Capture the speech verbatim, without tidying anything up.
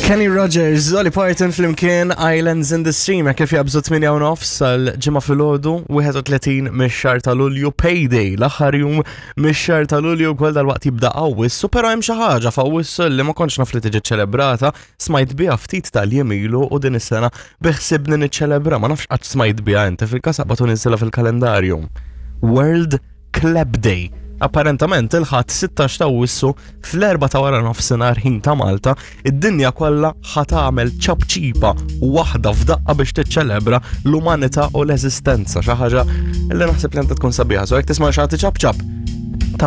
Kenny Rogers, Dolly Parton flimkien, Islands in the Stream, kif jabżu tmienja u nofs sal-Ġimgħa filgħodu, wieħed u tletin mix-xahar ta' Lulju, Payday, l-aħħar jum mix-xahar ta' Lulju, kol dal-waqt jibda Awwissu, però hemm xi ħaġa f'Awwissu li ma kontx naf li tiġi ċelebrata, smajt biha ftit tal-jiem ilu u din is-sena biħsibni niċċelebra, ma nafx qatt smajt biha inti, fil-każ aqbad u niżilha fil-kalendarju. World Clap Day. Apparentament il-Ħadd sittax ta' Awwissu fl-erba ta' wara nofsinhar ħin ta' Malta, id-dinja kollha ħa tagħmel ċapċipa waħda f'daqqa biex tiċċelebra l-umanità u l-eżistenza, xi ħaġa li naħseb li għandha tkun sabiħa. So jekk tisma' xi ħadd ċapċap,